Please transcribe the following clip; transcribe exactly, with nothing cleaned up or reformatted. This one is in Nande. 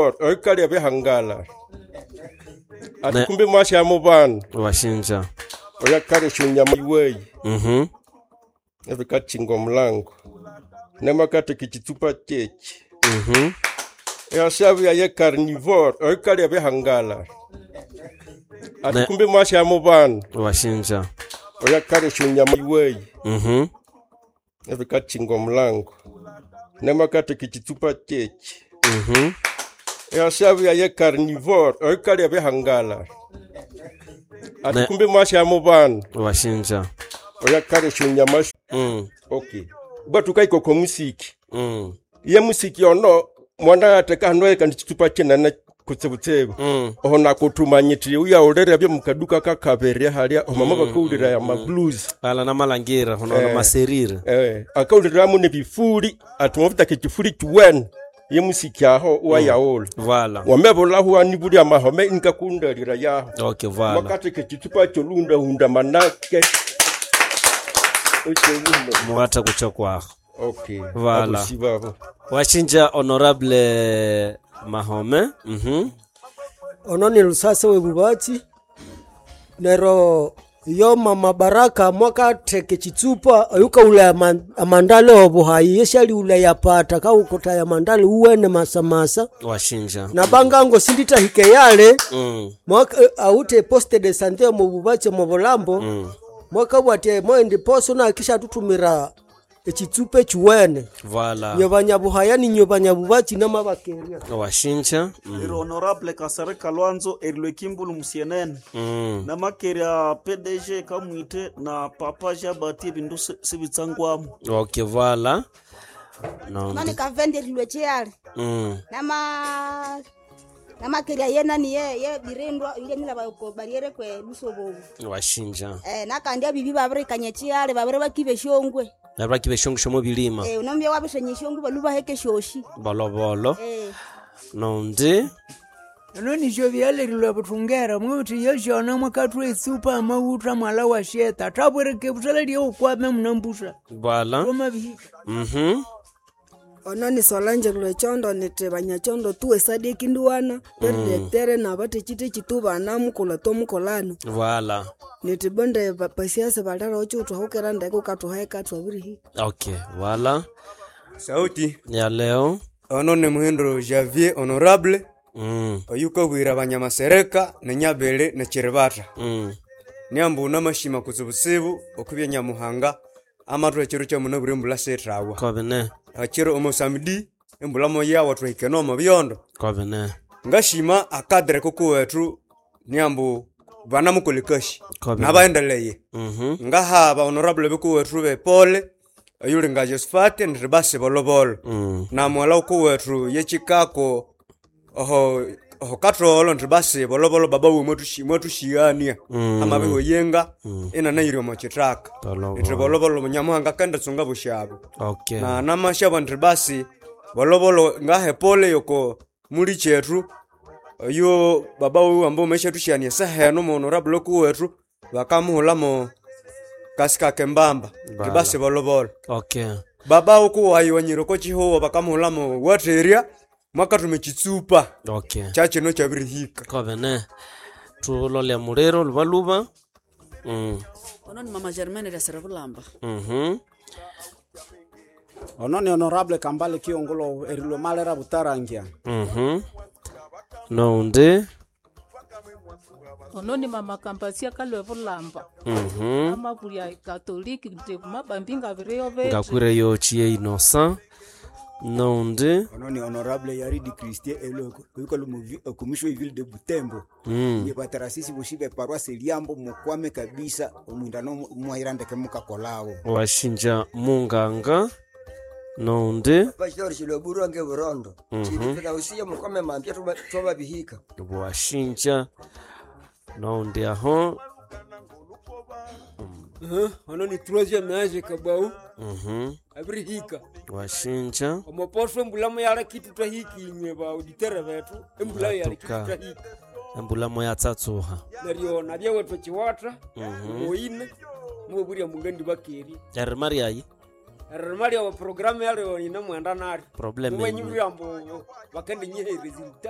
Oikalya bihangala ati kumbe mwasha mubana Washinja. Oyakalya nyama iweyi Mhm. Ebikachinga omulango nemakateka ekitsupa kyeki Mhm. Eyashabya ye carnivore oikalya bihangala ati Ne- kumbe mwasha mubana Washinja. Oyakalya nyama iweyi Mhm. Ebikachinga omulango nemakateka ekitsupa kyeki Mhm. Eyashabya ye carnivore oikalya bihangala ati Ne- kumbe mwasha mubana Washinja. Oyakalya nyama Mm. okay bwatukaikoko musiki Mm. ye musiki ono mwana ateka hano kandi chitupa chinene kutsebutsebe Mm. oho nakutumanyitire uyaulere byo mukaduka kakabere halia omama mm, bakaulira ya mablues Ala na malangira hono na Eh. maserire. eh akauliramu ne bifuli atumavita kifuli kiwene ye musiki aho uwayaula Voilà. wamebulahu anibuli amahome inkakundalira yaho Okay, voilà. makateke chitupa cholunda hunda manake Ocho- Muwata kucha kwaho. okay Voilà. Abo sibabo. Washinja honorable Mahome. Mhm. Ono ni lusase webubatsi nero yo mama Baraka mwakatheka ekitsupa oyukaghulha ama- amandale obuhayi yesyalighulha yapata kawukotaya amandale uwene masamasa Washinja. na bangango sindithahika eyale Mm. mwaka eh, awuthe poste de sante omu bubatsi omu bulambo Mm. mwakabwatya moendi poso nakisha tutumira ekitsupa ekiwene Voilà. nywe banyabuhaya ninywe banyabubatsi namabakerya Washinja. Mm. Eri honorable Kasare Kalwanzo erilwe kimbulu musienene Mm. namakerya P D G kamwite na papa Jabati ebindu si- sibitsangwamu Okay, voilà. No. Nani kavenderilwe chiyale Mm. nama namakerya yenani ye ye birindwa ile ko bariere kwe lusobobu Washinja. eh nakandi abibi babirikanya chiyale babire bakibe shongwe Nabaki beshongisho mu bilima. eh unombya wabishenye shongwe balubaheke shoshi Bolobolo. eh Nondi. Ano nisho byalerilwe buthungera mwithi yeshona mwakathwa etsupa amawutha mwala wa sheta thabwereke busala lyeukwame munambusa Voilà. omabihika Mhm. Ono ni Solange Lwechondo niti banyachondo tuwe sadiki nduwana perdirectere na bathekitheki tu bana mukola tomukolano Voilà. niti bonde ba- pasiasa balera ocho thwahukira ndeke ukathuheka thwabirihika Okay, voilà. Sauti Ya leo. ono ni Muhindo Javier honorable Mm. oyukabwira abanyamasereka nenyabele nechiribata Mm. niambu namashima kutsibutsibu okubya nyamuhanga amathu ekiro kyamunabwire embula sethawa Kobene. akiro omosamidi embula moyawa twahikene omo byondo Kobene. ngashima akadre kukuwethu niambu banamukolekashi Kobene. nabaendeleye Mhm. ngahaba honorable bikuwethu bepole oyuli nga Josephat nribasi bolobolo Mm. na mwala ukuwethu yechikako oho oho katholo nribasi bolobolo baba we mwathushiyania Mm. amabiho yenga inanayiri omo chithaka Bolobolo. nthi bolobolo nyamuhanga kandatsunga bushabo Okay. na namashabo nthi basi bolobolo ngahe pole yoko muli chethu oyo baba wiwe ambu meshathushania seheno muhonorable kuwethu bakamuhulamo kasika kembamba nthi basi bolobolo Okay. baba ukuwayiwanyire ko chihuwa bakamuhulamo watheria mwakathuma ekitsupa Okay. kyakino kyabirihika Kobene. Tulole muliro lubaluba. Mm. Ono ni mama Germaine lyasere bulamba Mhm. Ono ni honorable Kambale Kiongulo erilwe malera butarangia Mhm. Nondi. Ono ni mama Kampasia kalwe bulamba Mhm. amabulya katoliki nti mabambi ngabireyo betu Ngakwire yochiye Innocent. Nondi. Ono ni honorable Yaridi Christie elo oyukalu omumisho ville de Butembo Mm. ye batarasisi boshi be paroisse Liambo mukwame kabisa omwindano mwahirandeke mukakolawo Washinja munganga. Nondi. Pastor Shiloburu ange burondo Mhm. chilipita usiye mukwame mambya twababihika Washinja. Nondi aho. Ono ni troisième age kabau Mhm. abirihika Washinja. omoposho embulamu yala kitu twahiki inywe ba auditere bethu embula yala kitu Ngatuka. twahiki Embulamo yatsatsuha. neryo nabye wethu chiwatha Mhm. moine mubulya mungandi bakeri Erima ryayi. erima lya programu yalyo ine mwenda nalyo Probleme mubanyi buyambo bakende nyihe resulta